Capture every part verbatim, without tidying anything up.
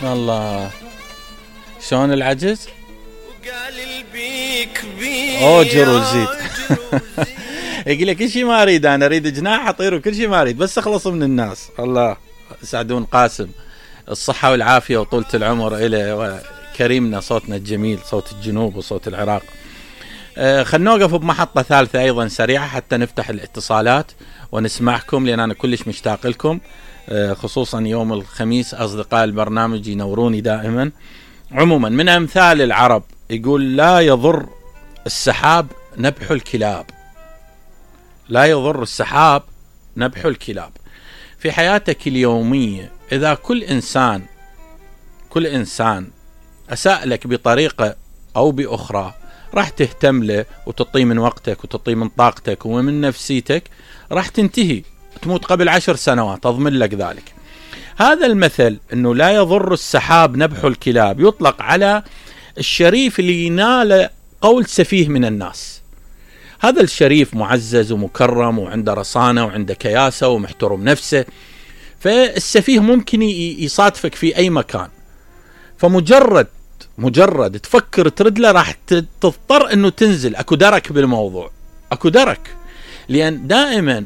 الله شلون العجز وقال البيك بيك اوجر وزيد. يقول لك كل شيء ما اريد، انا اريد جناح اطير وكل شيء ما اريد، بس اخلص من الناس. الله سعدون قاسم الصحة والعافية وطولة العمر إليه، وكريمنا صوتنا الجميل صوت الجنوب وصوت العراق. آه خلنا نوقف بمحطة ثالثة أيضا سريعة حتى نفتح الاتصالات ونسمعكم، لأن أنا كلش مشتاق لكم، آه خصوصا يوم الخميس أصدقاء البرنامج ينوروني دائما. عموما من أمثال العرب يقول لا يضر السحاب نبح الكلاب، لا يضر السحاب نبح الكلاب. في حياتك اليومية إذا كل إنسان كل إنسان أساء لك بطريقة أو بأخرى راح تهتم له وتطي من وقتك وتطي من طاقتك ومن نفسيتك، راح تنتهي تموت قبل عشر سنوات أضمن لك ذلك. هذا المثل أنه لا يضر السحاب نبح الكلاب يطلق على الشريف اللي ينال قول سفيه من الناس. هذا الشريف معزز ومكرم وعنده رصانة وعنده كياسة ومحترم نفسه، فالسفيه ممكن يصادفك في أي مكان، فمجرد مجرد تفكر ترد له راح تضطر أنه تنزل. أكو درك بالموضوع، أكو درك، لأن دائما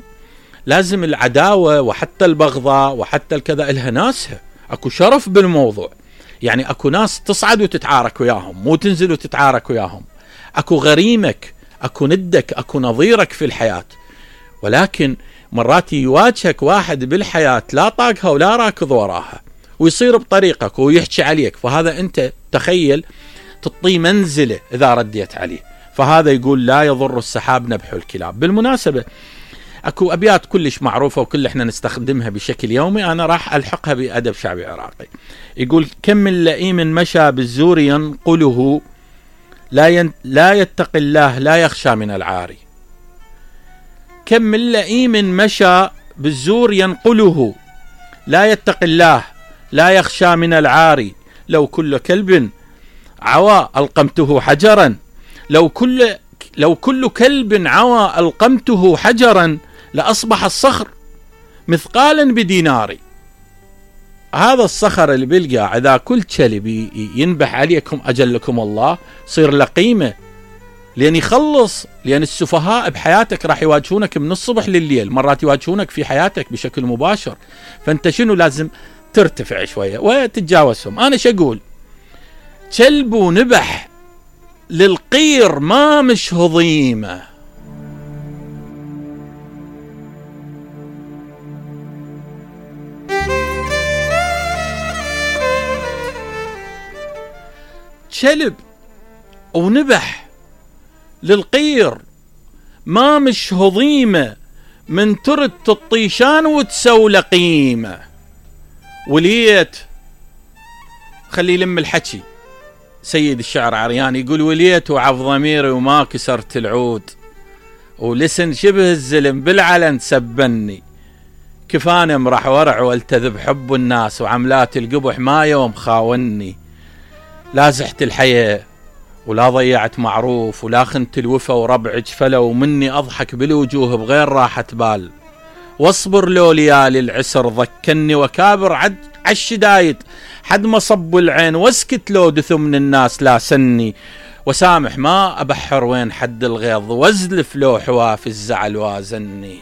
لازم العداوة وحتى البغضاء وحتى الكذا إلها ناسها، أكو شرف بالموضوع. يعني أكو ناس تصعد وتتعارك وياهم، مو تنزل وتتعارك وياهم. أكو غريمك، أكو ندك، أكو نظيرك في الحياة، ولكن مرات يواجهك واحد بالحياة لا طاقها ولا راكض وراها ويصير بطريقك ويحكي عليك، فهذا أنت تخيل تطي منزله إذا رديت عليه. فهذا يقول لا يضر السحاب نبح الكلاب. بالمناسبة أكو أبيات كلش معروفة وكل إحنا نستخدمها بشكل يومي، أنا راح ألحقها بأدب شعبي عراقي. يقول كم من لئيم مشى بالزور ينقله لا, ين... لا يتقي الله لا يخشى من العاري. كم من لئيم مشى بالزور ينقله لا يتقي الله لا يخشى من العاري. لو كل كلب عوى ألقمته حجرا، لو كل لو كل كلب عوى ألقمته حجرا لأصبح الصخر مثقالا بديناري. هذا الصخر اللي بيلقى إذا كل كلب ينبح عليكم أجلكم الله صير له قيمة، لأن يخلص. لأن السفهاء بحياتك راح يواجهونك من الصبح لليل، مرات يواجهونك في حياتك بشكل مباشر، فأنت شنو لازم ترتفع شوية وتتجاوزهم. أنا شقول كلب ونبح للقير ما مش هضيمة. كلب ونبح للقير ما مش هضيمة، من ترد الطيشان وتسول قيمة. وليت خلي يلم الحكي سيد الشعر عريان يقول وليت وعف ضميري وما كسرت العود، ولسن شبه الزلم بالعلن سبني، كفاني امرح ورع والتذب حب الناس، وعملات القبح ما يوم خاوني. لا زحت الحياة ولا ضيعت معروف، ولا خنت الوفا وربع جفلة، ومني أضحك بالوجوه بغير راحة بال. واصبر لو ليالي العسر ضكني، وكابر عد عالشدايد حد ما صب العين، واسكت لو دثو من الناس لا سني، وسامح ما أبحر وين حد الغيظ، وازلف لو حواف الزعل وازني.